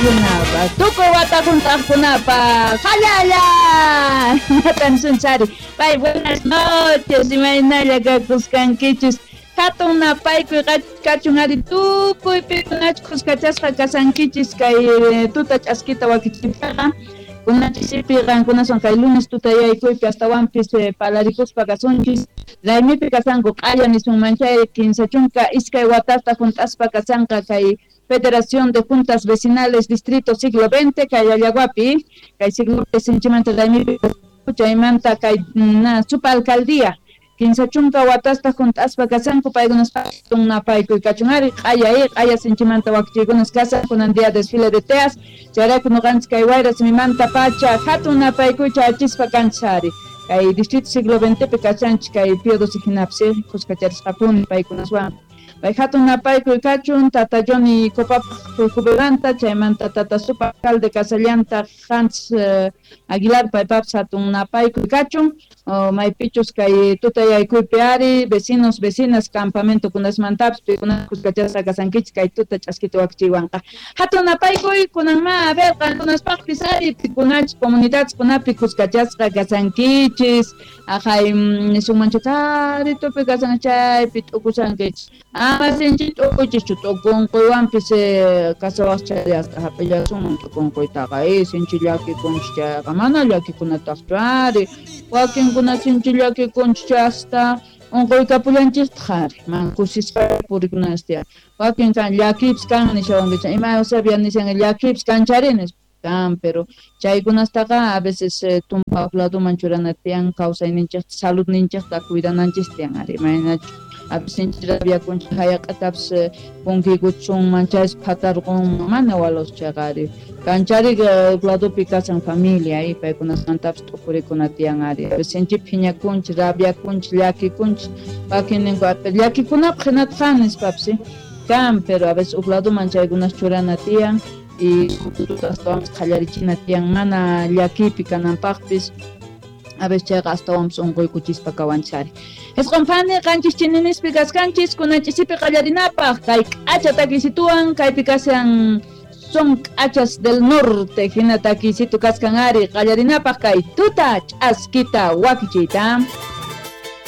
Kunapaq, tukuy wata junt'aqkunapaq, jallalla! Natan sunchari. Pay, buenas noches, imaynalla kakuskankichis. Hatun napaykuy kachun ari tukuy pikunach khuskachasqa kasankichis kay tuta ch'askita wakichiypiqa. Kunachisipi qankunawan kay lunes tutayaykuypi astawanpis palarikuspa kasunchis. Raymipi kasanku q'aya nisunman chay 32 watasta junt'aspa kasanqa kay Federación de Juntas Vecinales Distrito Siglo XX, kay Allaguapi, kay siglo sinchimanta raymipi chaymanta kay supa alcaldía 30 watasta junt'aspa kasanku paykunas napaykuy kachun ari q'aya q'aya sinchimanta wakichiykunas kasan kunan día desfile de teas chayrayku noqanchis kay wayra simimanta pacha hatun napaykuy chayachispa kanchis ari kay Distrito Siglo XX pi kachanchis kay Pío XII hinapis khuskacharisqapuni paykunaswan. Pay hatun napaykuy kachun tata Johnny Copapaj jubilanta chaymanta tata supa alcalde kasallanta Hans Aguilar paypapis hatun napaykuy kachun maypichus kay tutayaykuypi ari vecinos vecinas campamento kunasmantapis pikuna khuskachasqa kasankichis kay tuta ch'askita wakichiywanqa hatun napaykuy kunanma a ver qankunaspaqpis ari pikunachis comunidades kunapi khuskachasqa kasankichis ajay nisunmanchu karitupi kasan chaypi t'ukusankichis ama sinchi t'ukuchischu t'ukunquywanpis kasawaqchayasqa hap'illasunman t'ukunquytaqa sinchi llakikunchis chayqa mana llakikunataqchu ari wakinkuna sinchi llakikunchis chayasta unquykapullanchistaq ari mana kusisqa purikunanchis tiyan wakin kan llakipis kan nishawankichis ima Eusebia nishan llakipis kanchari nispa kan pero chaykunastaqa a veces tumpa ladoman churana tiyan kawsayninchikta saludninchikta cuidananchis tiyan ari imaynachu a veces sinchi rabiakunchis hayaq'atapis punkiykuchunman chaysi phatarqunman mana walos chayqa ari kanchari ladopi kasan familia paykunasmantapis t'ukurikuna tiyan ari a veces sinchi phiñakunchis rabiakunchis llakikunchis wakinninku llakikunapaq hinataq nispapis kan pero a veces huk ladoman chaykunas churana tiyan y astawanpis qhallarichina tiyan mana llakiypi kananpaqpis a veces chayqa astawanpis unquykuchispa kawanchis ari. Isqun phani qanchis chininispi kaskanchis kunan ch'isipi qallarinapaq kay k'acha takisituwan kaypi kashan son k'achas del norte hina takisitu kaskan ari qallarinapaq kay tuta ch'askita wakichiyta.